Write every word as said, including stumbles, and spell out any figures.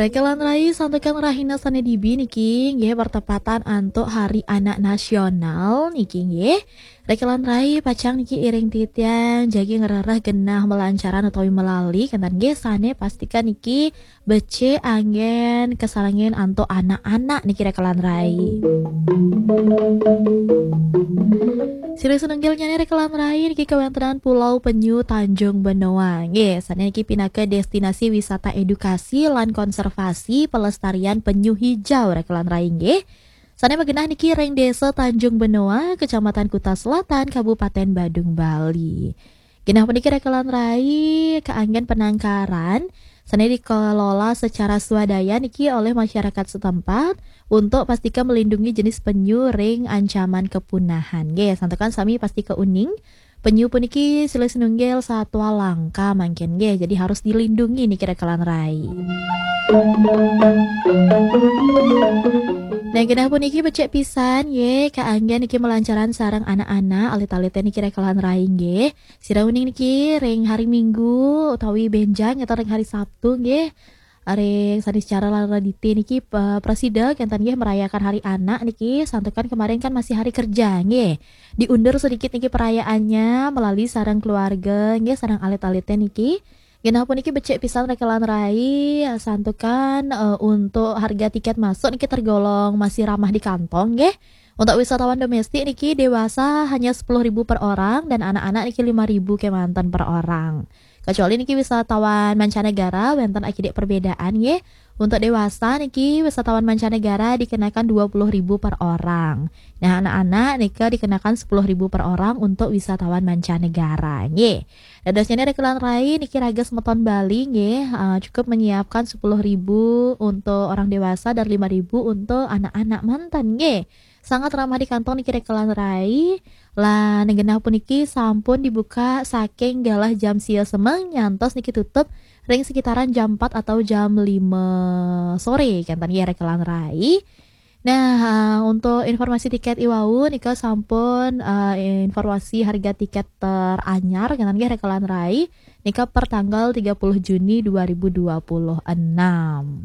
Rekelan rai, santukan rahina sane dibi niki nggih bertepatan antuk Hari Anak Nasional niki nggih. Rekelan rai, pacang niki iring titiang jagi ngrereh genah melancaran utawi melali, kenten nggih, sane pastika niki becik anggen kasarengin antuk anak-anak niki rekelan rai. Silih sinunggilnyane rekelan rai niki kawentenan Pulau Penyu Tanjung Benoa. Nggih, sane niki pinaka destinasi wisata edukasi lan konservasi pelestarian penyu hijau rekelan rai nggih. Sane magenah niki ring Desa Tanjung Benoa, Kecamatan Kuta Selatan, Kabupaten Badung, Bali. Genah puniki rekelan rai kaanggen penangkaran sane dikelola secara swadaya niki oleh masyarakat setempat untuk pastika melindungi jenis penyu ring ancaman kepunahan. Nggih, santukan sami pastika uning, penyu puniki silih sinunggil satwa langka mangkin nggih, jadi harus dilindungi niki rekelan rai. Nah, genah puniki becik pisan nggih, kaanggen niki melancaran sareng anak-anak, alit-alite niki rekelan rai nggih. Sira uning niki ring hari Minggu utawi benjang enten ring hari Sabtu nggih. Ring Saniscara lan Radite niki, eh, prasida kenten nggih merayakan hari anak niki, santukan kemarin kan masih hari kerja nggih. Diundur sedikit niki perayaannya melalui sareng keluarga nggih, sareng alit-alite niki. Genah puniki becik pisan rekelan rai, santukan, eh, untuk harga tiket masuk niki tergolong masih ramah di kantong nggih. Untuk wisatawan domestik niki dewasa hanya sepuluh ribu per orang dan anak-anak niki lima ribu kemanten per orang. Kecuali niki wisatawan mancanegara wenten akidik perbedaan nggih. Untuk dewasa niki wisatawan mancanegara dikenakan dua puluh ribu per orang. Nah, anak-anak nika dikenakan sepuluh ribu per orang untuk wisatawan mancanegara nggih. Dadosnyane rekelan rai niki raga semeton Bali nggih, eh, cukup menyiapkan sepuluh ribu untuk orang dewasa dan lima ribu untuk anak-anak manten nggih. Sangat ramah di kantong niki rekelan rai. Lah, genah puniki sampun dibuka saking galah jam sia semeng nyantos niki tutup ring sekitaran jam empat atau jam lima sore kenten nggih rekelan rai. Nah, eh, untuk informasi tiket iwau nika sampun, eh, informasi harga tiket teranyar kenten nggih rekelan rai nika per tanggal tiga puluh Juni dua ribu dua puluh enam.